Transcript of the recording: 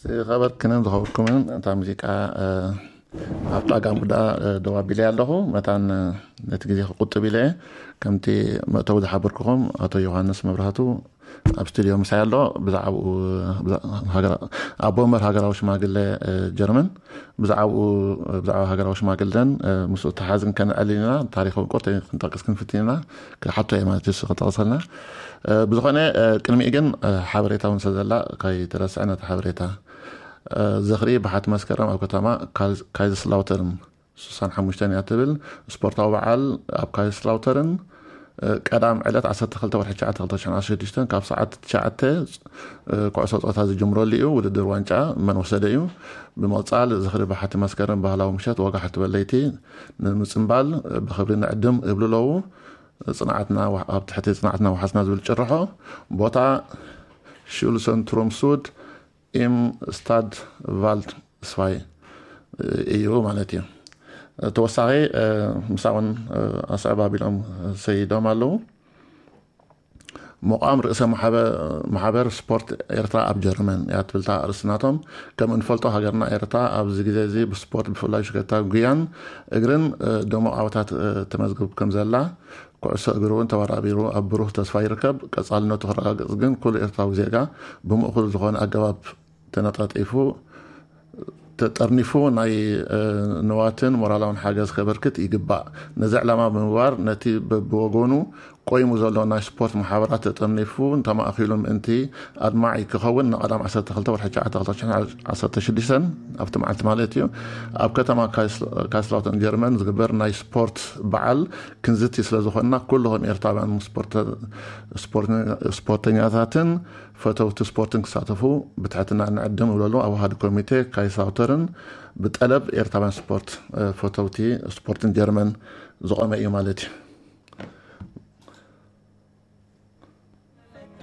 ዝኸበርክንን ዝኸበርኩምን፣ እታ ሙዚቃ ኣብጣ ጋምቡዳ ደዋቢለ ኣለኹ። መታን ነቲ ግዜ ክቁጥብ ኢለ ከምቲ መእተዊ ዝሓበርኩኹም፣ ኣቶ ዮሃንስ መብራህቱ ኣብ ስቱድዮ ምሳይ ኣሎ። ብዛዕባኡ ኣቦ ወንበር ሃገራዊ ሽማግለ ጀርመን፣ ብዛዕባኡ ብዛዕባ ሃገራዊ ሽማግለን ምስ ተሓዝን ከነዕልል ኢና። ታሪኻዊ ቁርተ ክንጠቅስ ክንፍትን ኢና። ክሓቶ እየ ማለት እዩ ክጠቅሰልና። ብዝኾነ ቅድሚኡ ግን ሓበሬታ እውን ሰዘላ ከይተረስዐ ነቲ ሓበሬታ። ዝኽሪ ብሓቲ መስከረም ኣብ ከተማ ካይዝስላውተርን ስሳን ሓሙሽተን እያ ትብል። ስፖርታዊ በዓል ኣብ ካይዝስላውተርን ቀዳም ዕለት ዓሰርተ ክልተ ወርሒ ትሽዓተ ክልተ ሽሕን ዓሰርተ ሽዱሽተን ካብ ሰዓት ትሽዓተ ኩዕሶ ፆታ ዝጅምረሉ እዩ። ውድድር ዋንጫ መን ወሰደ እዩ። ብምቕፃል ዝኽሪ ብሓቲ መስከረም ባህላዊ ምሸት ወጋሕ ትበል ለይቲ ንምፅምባል ብኽብሪ ንዕድም እብሉ ኣለዉ። ፅንዓትና ኣብ ትሕቲ ፅንዓትና ውሓስና ዝብል ጭርሖ። ቦታ ሹልሰን ትሮምሱድ ኢም ስታድ ቫልድ ስፋይ እዩ ማለት እዩ። ተወሳኺ ምሳውን ኣስዕብ ኣቢሎም ሰይዶም ኣለዉ። መቋም ርእሰ ማሕበር ስፖርት ኤርትራ ኣብ ጀርመን እያ ትብልታ ኣርእስናቶም። ከም እንፈልጦ ሃገርና ኤርትራ ኣብዚ ግዜ እዚ ብስፖርት ብፍላይ ሽከታ ጉያን እግርን ድሙቕ ዓወታት ተመዝግብ ከም ዘላ፣ ኩዕሶ እግሪ እውን ተበራቢሩ ኣብ ብሩህ ተስፋ ይርከብ። ቀጻልነቱ ክረጋግጽ ግን ኩሉ ኤርትራዊ ዜጋ ብምእኩል ዝኾነ ኣገባብ ተነጣጢፉ ተጠርኒፉ ናይ ንዋትን ሞራላውን ሓገዝ ከበርክት ይግባእ። ነዚ ዕላማ ብምግባር ነቲ በብወገኑ ቆይሙ ዘሎ ናይ ስፖርት ማሕበራት ተጠርኒፉ እንተማእኪሉ ምእንቲ ኣድማዒ ክኸውን ንቐዳም ዓሰርተ ክልተ ወርሒ ትሽዓተ ክልተ ሽሕን ዓሰርተ ሽዱሽተን ኣብቲ መዓልቲ ማለት እዩ ኣብ ከተማ ካይስላውተን ጀርመን ዝግበር ናይ ስፖርት በዓል ክንዝቲ ስለ ዝኾንና ኩልኹም ኤርትራውያን ስፖርተኛታትን ፈተውቲ ስፖርትን ክሳተፉ ብትሕትና ንዕድም ይብለሉ ኣዋሃዲ ኮሚቴ ካይሳውተርን ብጠለብ ኤርትራውያን ስፖርት ፈተውቲ ስፖርትን ጀርመን ዝቆመ እዩ ማለት እዩ።